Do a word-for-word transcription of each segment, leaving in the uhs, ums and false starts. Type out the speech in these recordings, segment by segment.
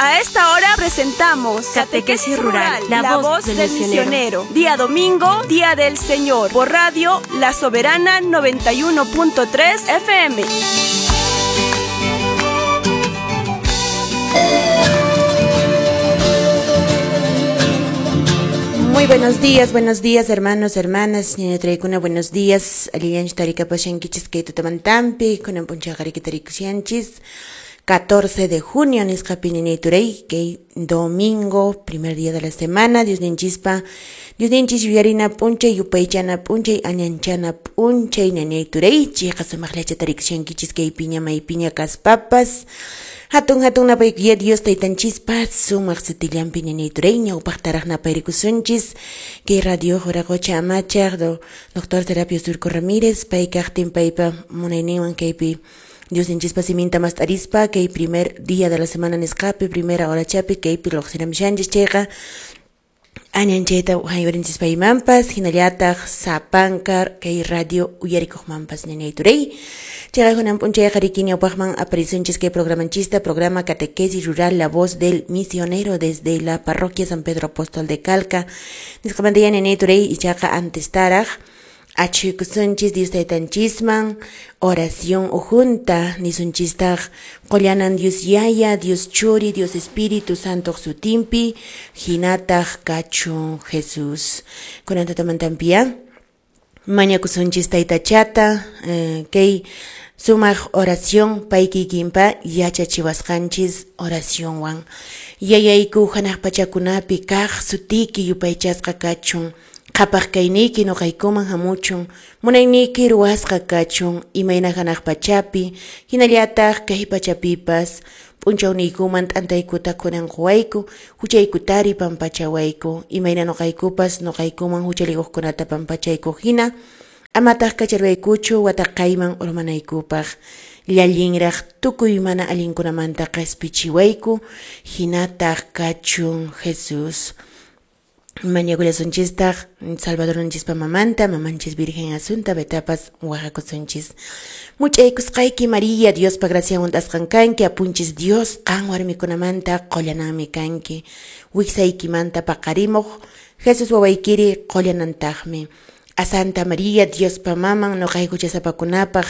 A esta hora presentamos Catequesis Rural, la, la voz, voz del, del misionero. misionero. Día domingo, Día del Señor. Por Radio La Soberana noventa y uno punto tres F M. Muy buenos días, buenos días, hermanos, hermanas. Ñaña buenos días. Aliyanch tarika pashankichis kay tutamantampi, kunan p'unchayqa tarikushanchis. catorce de junio, nisqapi ñañayturay, kay domingo, primer día de la semana, Dios ninchispa, Dios ninchis yuyarina p'unchay, yupaychana p'unchay, añanchana p'unchay, ñañayturay, chayqa sumaqllacha tarikushankichis kay piña maypiña kaspapas. Hatun hatun napaykuya Dios taytanchispa sumaq sutillanpi ñañayturay, ñawpaqtaraq napayrikusunchis, kay radio Juracocha amachaq, do doctor Serapio Surco Ramírez, paykaqtin paypa munayninwan kaypi Dios ninchispa siminta mast'arispa, kay primer día de la semana nisqapi, primera hora chapi, kaypi lluqsiramshanchis chayqa añanchayta haywarinchis paymanpas, hinallataq sapankar kay radio uyarikuqmanpas ñañayturay. Chayqa kunan p'unchayqa riki ñawpaqman aparisunchis kay programanchista, programa Catequesis Rural, la voz del misionero desde la parroquia San Pedro Apóstol de Calca. Nisqamanta ya ñañayturay, ichaqa antestaraq achuykusunchis Dios taytanchisman, oración ujunta, nisunchistaq qollanan Dios Yaya, Dios Churi, Dios Espíritu Santo sutinpi, hinataq kachun Jesús. Kunan tutamantampia, mañakusunchis taytachata, eh, kay sumaq oración paykikinpa yachachiwasqanchis oracionwan. Yayayku hanaq pachakunapi kaq sutiki yupaychasqa kachun, qhapaq kayniyki nuqaykuman hamuchun, munayniyki ruwasqa kachun, imayna hanaq pachapi, hinallataq kay pachapipas, p'unchawniykuman t'antaykuta kunan quwayku, huchaykutari pampachawayku, imayna nuqaykupas nuqaykuman huchalikuqkunata pampachayku hina, amataq kacharwaykuchu wataqayman urmanaykupaq, llallinraq tukuy mana allinkunamanta qhispichiwayku, hinataq kachun Jesús. Mañakullasunchistaq Salvador nonchispa mamanta, mamanchis Virgen Asunta, betapas waqakusunchis. Much'aykusqayki María, Diospa graciawan hunt'asqan kanki, apunchis Dios, qan warmikunamanta qullananmi kanki. Wiksaykimanta paqarimuq, Jesús wawaykiri qullanantaqmi. A Santa María, Diospa maman, nuqayku chasapakunapaq,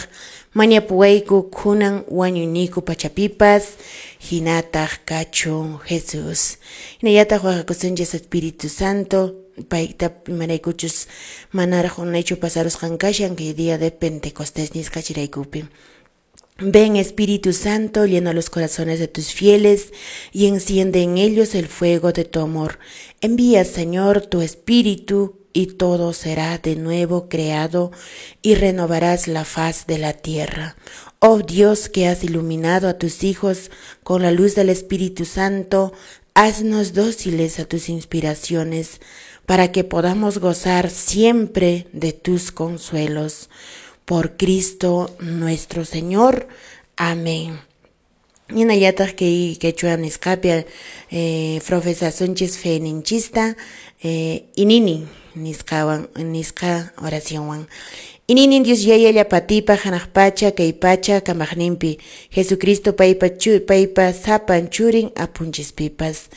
mañapuwayku kunan wañuyniku pachapipas, hinataq kachun Jesús. Hinallataq waqakusunchis Espíritu Santo, payta imaraykuchus manaraq unaychu pasarusqan kashan kay día de Pentecostés nisqa chiraykupi. Ven Espíritu Santo, llena los corazones de tus fieles y enciende en ellos el fuego de tu amor. Envía, Señor, tu Espíritu y todo será de nuevo creado y renovarás la faz de la tierra. Oh Dios, que has iluminado a tus hijos con la luz del Espíritu Santo, haznos dóciles a tus inspiraciones, para que podamos gozar siempre de tus consuelos. Por Cristo nuestro Señor. Amén. Hinallataq kay quechua nisqapi eh, profesasunchis feninchista eh, inini nisqawan nisqa oracionwan. Ininin Dios Yaya llapatipaq hanaq pacha kay pacha kamaqninpi Jesucristo paypa chu, paypa sapan churin apunchispipas.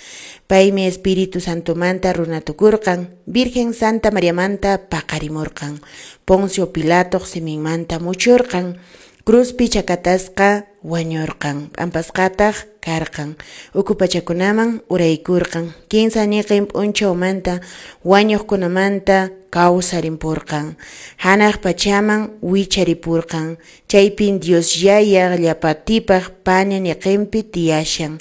Paymi Espíritu Santomanta runatukurqan, Virgen Santa Mariamanta paqarimurqan, Poncio Pilato siminmanta muchurqan, cruzpi chakatasqa wañurqan, p'ampasqataq karqan, uku pachakunaman uraykurqan, kinsa ñiqin p'unchawmanta wañuqkunamanta kawsarimpurqan, hanaq pachaman wicharipurqan, chaypin Dios Yaya llapatipaq paña ñiqinpi tiyashan,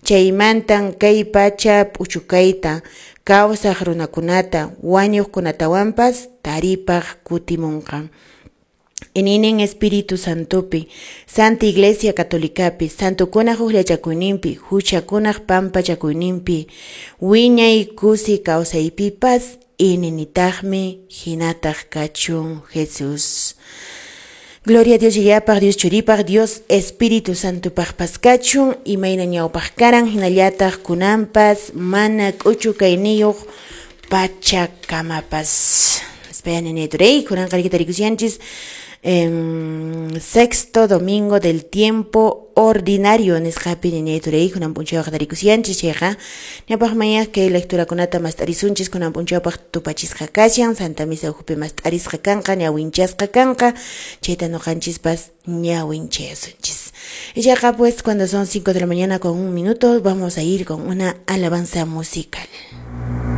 chaymantan kay pacha p'uchukayta, kawsaq runakunata, wañuqkunatawanpas taripaq kutimunqa. Ininen Espíritu Santopi, Santa Iglesia Católicapi, Santokunaq hukllachakuyninpi, huchakunaq pampachakuyninpi, wiñay kusi kawsaypipas, ininitaqmi hinataq kachun Jesús. Gloria a Dios Yayapaq, Dios Churipaq, Dios Espíritu Santopaqpas kachun, imayna ñawpaq karan, hinallataq kunanpas, mana k'uchu kayniyuq pachakamapas. Espera, ñañayturay, kunan qarikita rikushanchis. eh, sexto domingo del tiempo ordinario nisqapi ñañay turay kunan p'unchawqa tarikusyanchis chayqa ñawpaqmanya kay lecturakunata mast'arisunchis kunan p'unchawpaq tupachisqa kashan Santa Misa ukhupi mast'arisqa kanqa ñawinchasqa kanqa chayta ñuqanchispas ñawinchayasunchis. Ichaqa pues cuando son cinco de la mañana con un minuto vamos a ir con una alabanza musical.